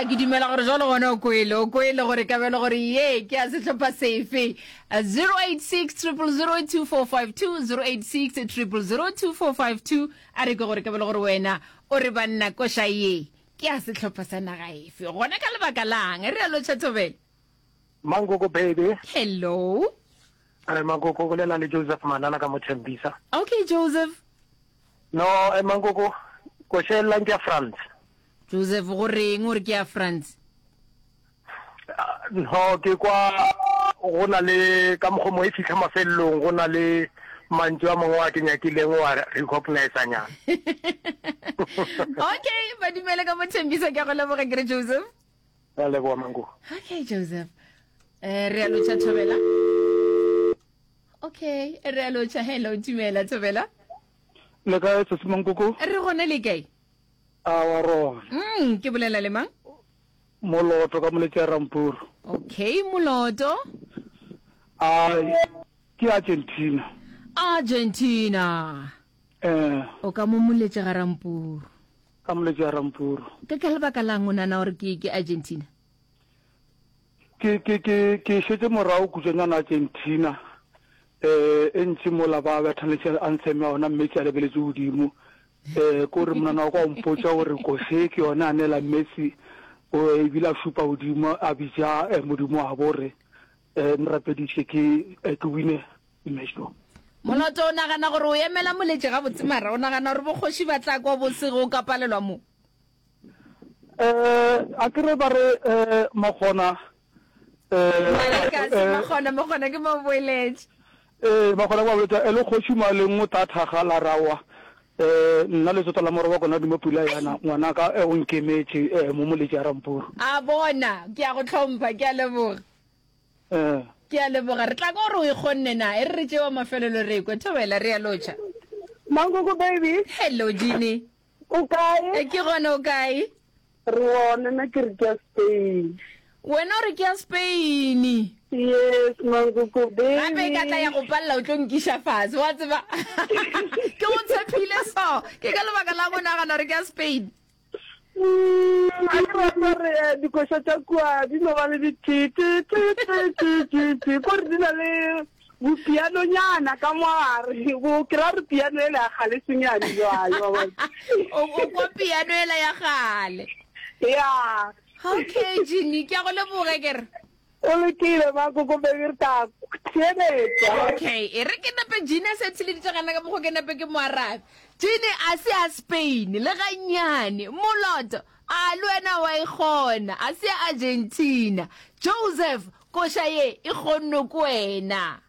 A ke dumela gore jalo gona o kwele, o kwele gore ka bjalo gore ye ke ya sehlopha sefe. 086 000 2452 086 000 2452 a re ke gore ka bjalo gore wena o re banna koša ye ke ya sehlopha sa naga efe gona ka lebaka lang re a lotšha thobela Mankoko baby. Hello. Re Mankoko bolela le Joseph Manana ka mo Tembisa. Okay Joseph. No, eh, Mankoko, koša e llang ke ya France. Joseph, go reng o re ke ya France? No, ke kwa go na le ka mokgwa mo e fihla mafelelong go na le mantšu a mangwe a ke nyakileng wa recognize nyana. Okay, ba dumele ka mo Tembisa ke a go leboga ke re Joseph. Ra leboga Mankoko. Okay Joseph. Eh re a lotšha Thobela. Okay, re a lotšha. Hello, dumela Thobela. Le kae sesi Mankoko? Re gona le kae? A wa rona. Mm, ke bolela le mang? Moloto ka moletši ya Rampuru. Okay, Moloto. A ke Argentina. Argentina. Eh. O ka mo moletši ga Rampuru. Ka moletši ya Rampuru. Ke ka lebaka lang o nana gore ke ke Argentina? Ke ke ke ke šetše morago kutšwanyana Argentina eh e ntši mola ba betha anthem ya ona Messi a lebeletše godimo eh ko re monana wa ka o mpotša gore kose ke yone a neela Messi o ebile a šupa godimo a bitša eh, modimo wa bo re eh nrapediše ke eh, ke wine mešo. Moloto o nagana gore o emela moletši gabotse mara o nagana gore bokgoši ba tla kwa bosego o ka palelwa mo? Eh, a ke re ba re eh, makgona eh, Maleka se makgona, makgona ke maboeletše. Eh, makgona ke maboeletše e le kgoši maleng o tla thaga la rawa eh nna letsota la moroba kona dimo pula yana ngwanaka eh, o nkemetše eh, mo moletši a Rampuru. A bona, ke a go hlompha, ke a leboga. Eh. Ke a leboga. Re tla kwa gore o e kgonne na. E re re tšewa mafelelo re kwe. Thobela, re a lotšha. Mankoko baby. Hello Jeannie. O kae? E, ke gona o kae? Re gona, nna ke re ke ya Spain. Wena o re ke ya Spain. Yes, Mankoko baby. Gape e ka tla ya go palela o tlo nkiša fase, wa tseba. Ke go tshephile so. Ke ka lebaka la go nagana gore ke ya Spain. Mm, a ke rata gore eh, dikoša tša kua di no ba le di-t-t-t-t-t-t-t kore di na le bopianonyana ka mogare bo ke ra re piano ele ya kgale senyane jwale wa bona. O o kwa piano ela ya kgale. Ya. Okay, Jeannie, ke a go leboga ke re. O lokile Makoko baby re tla theeletša. Okay, e re ke nape Jeannie a se theleditše gana ka mokgwa ke nape ke mo arabe. Jeannie a se a Spain le gannyane. Moloto, a le wena wa e kgona. A se Argentina. Joseph, koša ye e kgonnwe ke wena.